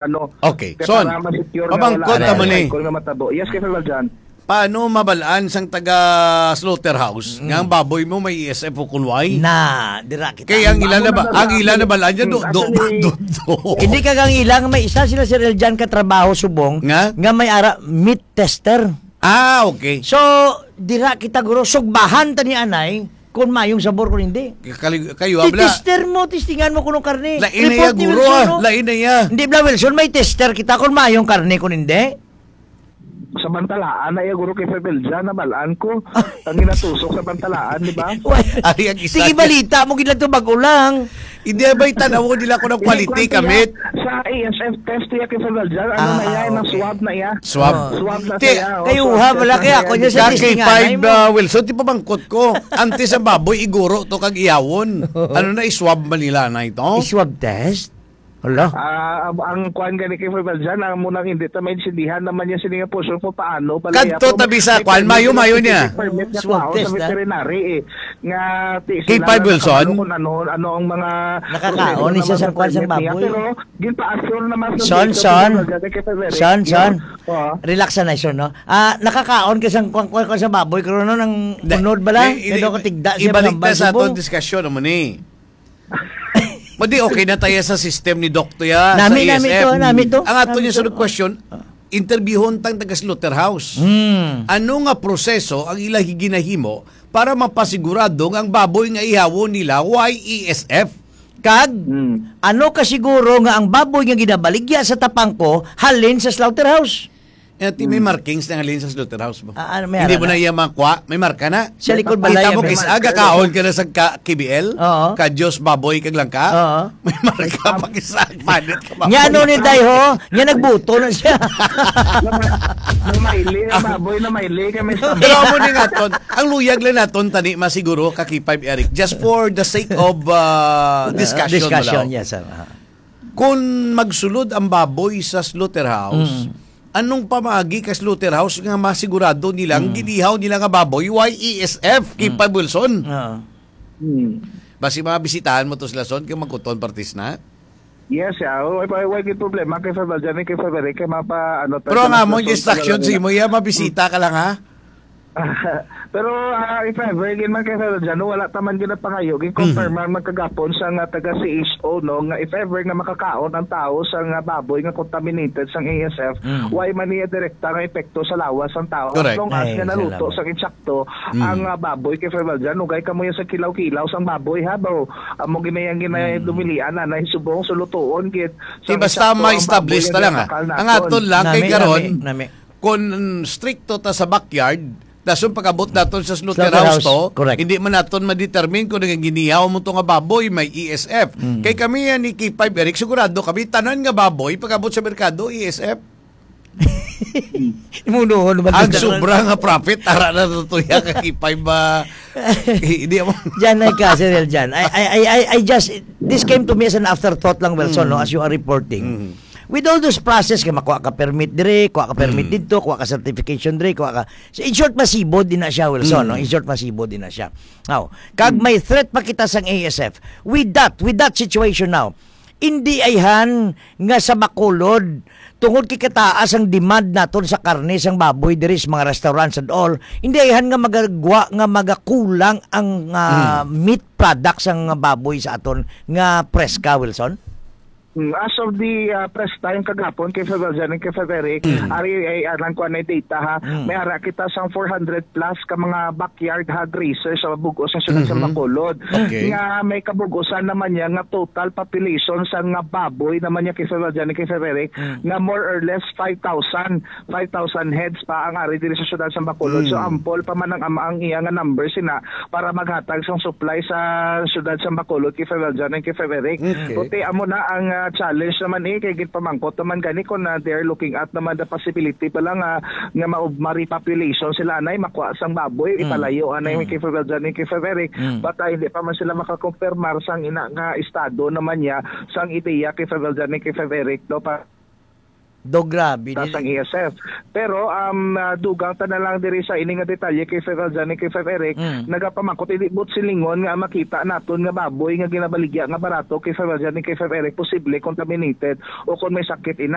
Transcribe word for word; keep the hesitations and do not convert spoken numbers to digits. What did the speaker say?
ano, Okay. kaya Son, para ma-secure nga wala pamangkot ang ta mo ni. Cycle nga matabo. Yes, Kay Valjan. Paano mabalaan sang taga slaughterhouse Mm. nga ang baboy mo may E S F o kulway? Na, dira kita. Kaya ang ila na ba, Amo na ang ila na ba, anya, do, Hmm, do, asa ni do, do. Hindi ka kang ilang may isa sila si Reljan ka trabaho subong Nga? nga may ara meat tester. Ah, okay. So, dira kita, guro, sugbahan ta ni anay kung mayong sabor kung hindi. Kali-, kayo, abla. Titester mo, testingan mo kung karne. Lain na Report iya, ni guro, Wilson, ah. no? Lain na iya. Hindi, bla, Wilson, may tester kita kung mayong karne kung hindi. Sa bantalaan na iya, guro, kay Febelja, nabalaan ko. Ang ginatusok sa bantalaan, di ba? Why? Ari ang isa Sige, niya. Balita mo, gid lang to, bag-o lang. Hindi, bay, tanaw ko nila kung ang Hindi, quality kwan siya, kamit. Sa A S F test niya kay Febelja, ano Ah, na iya, ah, okay. na-swab na iya. Swab. Oh. Swab na Ti-, siya, oh, Kayo, swab ha, test wala na kaya siya. ako niya sa Ka testingan, K five, ay mo. uh, Wilson, ti pamangkot ko. Antes ang baboy, iguro to kag iyawon. Ano na, iswab man nila na ito? Iswab test? Hala. Ah, ang, ang kwan gani kay Febelja, ang munang hindi ta maintindihan naman niya sini nga portion kung paano pala Kadto iya, tabi sa may kwan, permit, mayo-mayo niya. specific permit nga Swab kuhaon sa test, ah. veterinary, eh. Nga, ti-, K five sila na Wilson? nakabalo kung ano, ano ang mga Nakakaon proseso ni siya naman sa sa kwan sang permit niya. baboy. Pero, ginpa-assure naman sa Son, data son. sa Febelja kay Febelja. Son, son. Oo. Relax na, son, no? Ah, nakakaon ka sang kwan, kwan, kwan sa baboy, pero no, nang Da-, unod ba lang? i-, i-, Pero katigda siya, ibalik mga ta sa balsibong. atong diskusyon, amo ni. Madi, okay na tayo sa system ni Dokto ya, Nami, sa nami A S F. to, nami to. Ang ato Nami niya to. sunod question, Ah. interbyuhon tang taga slaughterhouse. Hmm. Ano nga proseso ang ila ginahimo para mapasigurado nga ang baboy nga ihawon nila way E S F? Kag, Hmm. ano ka siguro nga ang baboy nga ginabaligya sa tapangko halin sa slaughterhouse? Eh, ti may Hmm. markings na halin sa slaughterhouse mo. Ah, ano, may Hindi ara mo na na? iya makuha, may marka na. Sa likod Kita balay, mo, may kis-, marka. aga kaon ka na sa ka-, K B L? Oo. Ka Diyos, baboy, kag langka? Oo. May marka pa, kis-, panit ka, baboy. Nya, ano ni Day, ho? Nya, nagbuto na siya. Namaili, ang baboy, namaili, kami sa Pero amo ni nga ton, ang luyag lang naton, tani, masiguro, ka K five Eric, just for the sake of, uh, Ah, discussion, discussion, wala. yes, sir. Ah. Kung magsulod ang baboy sa slaughterhouse, Mm. anong pamaagi ka slaughterhouse nga masigurado nila ang Mm. ginihaw nila nga baboy, Y E S F, Kim Mm. Pabulson? Oo. Hmm. Basi mga bisitahan mo to sila, son, kung magkuton partis na? Yes, yeah. Why, why, why gid problema kay Febel dyan, kay Febel, kay mapa, ano, Pero ang tayo among sa instruction sa imo, iya, mabisita ka lang, ha? Pero, ah, if ever, gid man kay Febel dyan, no, wala ta man gid napangayo, gid confirm Mhm. man magkagapon sa nga taga C H O, no, nga if ever nga makakaon ang tao sa nga baboy nga contaminated sang A S F, Mm. why man niya direkta nga epekto sa lawas sang tao? Correct. As long as Ay, nga naluto salamat. sa insakto Mm. ang, ah, baboy kay Febel dyan, ugay ka mo yan sa kilaw-kilaw sang baboy, ha, bro? Amo ginayang ginay Mm. dumilian na, na subong, so lutuon, gid. Di Sang basta insakto ang ma-establish baboy ta ang lang, ha? ginakal Ang naton. aton lang kay Nami, karon, nami, nami. kung stricto ta sa backyard, dason pag-abot naton sa slaughterhouse Slaughterhouse, to, correct. hindi man naton ma-determine kung nagaginihaw mo to nga baboy, may E S F. Mm. Kay kami yan ni K five Eric, sigurado kami, tanan nga baboy, pag-abot sa merkado, E S F. Imunohon naman Ang sa sobra nga profit, tara na to, to, ya, ka K five ba? Hindi mo. Diyan ay ka, Sir Eljan. I, I, I, I, I just, this came to me as an afterthought lang, Wilson, no, Mm. as you are reporting. Mm. With all those process, kay makuha ka permit dire, kuha ka permit Mm. dito, kuha ka certification dire, kuha ka, so, in short, masibod din na siya, Wilson, no? Mm. In short, masibod din na siya. Now, kag Mm. may threat pa kita sang A S F. With that, with that situation now, hindi ayhan nga sa Bacolod, tungod kay kataas ang demand naton sa karne sang baboy diri sa mga restaurants and all, hindi ayhan nga magagwa nga magakulang ang, ah, Mm. meat products sang baboy sa aton nga preska, Wilson? Mm, as of the, ah, press time kagapon kay Febel dyan and kay Feberic, Mm. ari ay, ah, lang kuha na yung data, ha. Mm. May ara kita sang four hundred plus ka mga backyard hog raisers sa bug-os nga siyudad sa Mhm. Bacolod. Okay. Nga may kabug-usan naman niya nga total population sa nga baboy naman niya kay Febel dyan and kay Feberic Mm. nga more or less five thousand, five thousand heads pa ang ari diri sa siyudad sa Bacolod. So, Mm. ample pa man ang, ang, ang iya nga numbers sina para maghatag sang supply sa siyudad sa Bacolod kay Febel dyan and kay Feberic. Okay. Kundi amo na ang, ah, challenge naman, eh, kay ginpamangkot naman gani kung, ah, they are looking at naman the possibility pa lang, ah, nga ma-, ma-repopulation sila anay, makuha sang baboy, Mm. ipalayo anay Mm. kay Febel dyan and kay Feberic. Mm. But, ah, hindi pa man sila makakumpirmar sang ina nga estado naman niya sang ideya kay Febel dyan and kay Feberic, no, pa- Do, grabe, Taas dili. Ang E S F. Pero um, ah, dugang ta na lang diri sa ini nga detalye kay Five Aljan and kay Five Eric, Mm. nagapamangkot, hindi buot silingon nga makita naton nga baboy nga ginabaligya nga barato kay Five Aljan and kay Five Eric posible contaminated o kung may sakit ina.